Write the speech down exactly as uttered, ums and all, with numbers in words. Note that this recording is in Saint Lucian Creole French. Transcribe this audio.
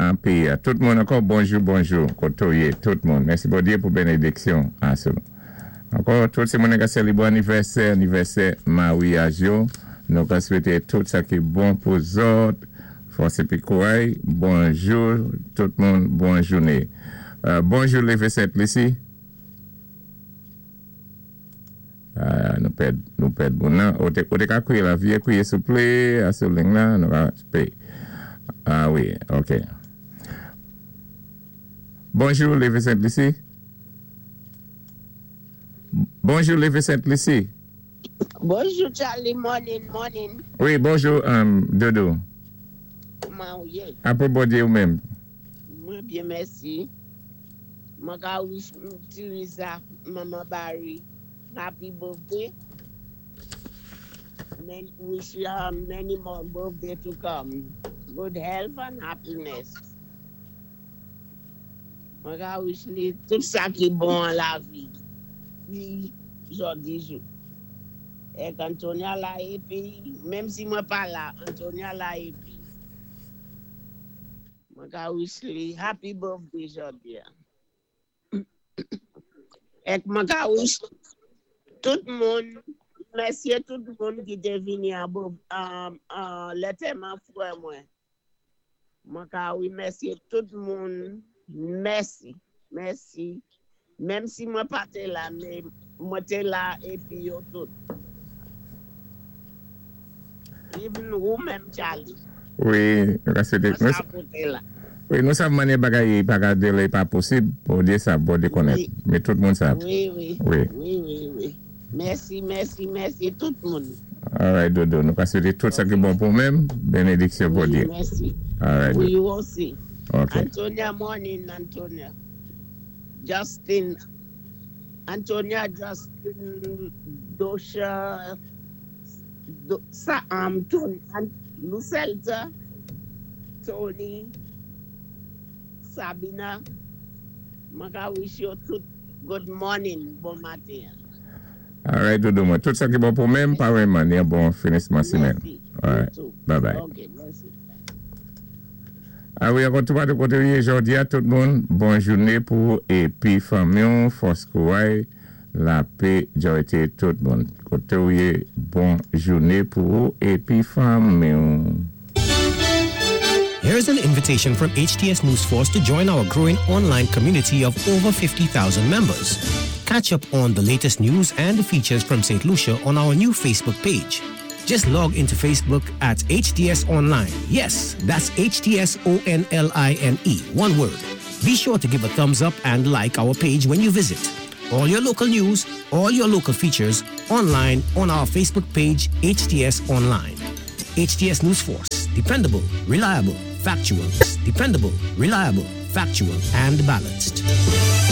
an péyi. Tout moun ankò, bonjou, bonjou, koté ou yé, tout moun. Mèsi Bondyé pou bénédiksyon. Ankò, tout sé moun ki sélébwé anivèsè, anivèsè maryaj yo. Nou ka swété tout sa ki bon pou zòt. Fòs épi kouray. Bonjou, tout moun, bon jouné. Euh, bonjou, Lévé Sent-Lisi. Euh, nou pèd, nou pèd moun nan. Ou té, ou té ka kwiyé la, vyé kwiyé souplé, a sou liy la, nou ka pé. Ah wi, OK. Bonjou, Lévé Sent-Lisi. Bonjou, Lévé Sent-Lisi. Bonjou, Charlie. Morning, morning. Wi, bonjou, um, Dodo. Kouman ou yé? Apwé Bondyé ou menm. Mwen byen, mèsi. Mwen ka wish Teresa, Mama Barry, happy birthday. Many, wish you um, many more birthday to come. Good health and happiness. Mwen ka wish li tout sa ki bon an lavi. Wi, jòdi jou. Èk Antonia la épi, menm si mwen pa la, Antonia la épi. Mwen ka wish li happy birthday jòdi. Èk mwen ka wish tout moun, mèsi tout moun ki té vini an bo, an, an, lantèman fwè mwen. Mwen ka wimèsyé tout moun, mèsi, mèsi. Menm si mwen pa té la, mé mwen té la épi yo tout. Even ou menm Charlie. Wi, nou ka swété. Mwen sa pou té la. Wi, nou sav manyè bagay pa ka délé pa posib, Bondyé sav, Bondyé konnèt. Wi. Mé tout moun sav. Wi, wi. Wi. Wi, wi, wi. Mèsi, mèsi, mèsi tout moun. All right, Dodo, nou ka swété tout sa ki bon pou menm, bénédiksyon Wi, Bondyé. mèsi. All right. Wi, you osi. OK. Antonia, morning, Antonia. Justin, Antonia, Justin, Dosha, Do, sa, um, Tony, An, Lucelta, Tony, Sabina, mwen ka wish you tout good morning, bon maten. All right, Dodo, mwen. Tout sa ki bon pou menm, pa wèman, yon bon finisman simèn. Mèsi. All right. You too. Bye bye. Ok, mèsi. Ah wi, ankò tout patou koté ou yé jòdi a tout moun, bon jouné pou épi fanmi, fòs kouray, lapè, jòyté tout moun. Koté ou yé, bon jouné pou épi fanmi. Here's an invitation from HTS News Force to join our growing online community of over fifty thousand members. Catch up on the latest news and features from Saint Lucia on our new Facebook page. Just log into Facebook at H T S Online. Yes, that's H T S O N L I N E, one word. Be sure to give a thumbs up and like our page when you visit. All your local news, all your local features, online on our Facebook page, H T S Online. H T S News Force. Dependable, reliable, factual. Dependable, reliable, factual, and balanced.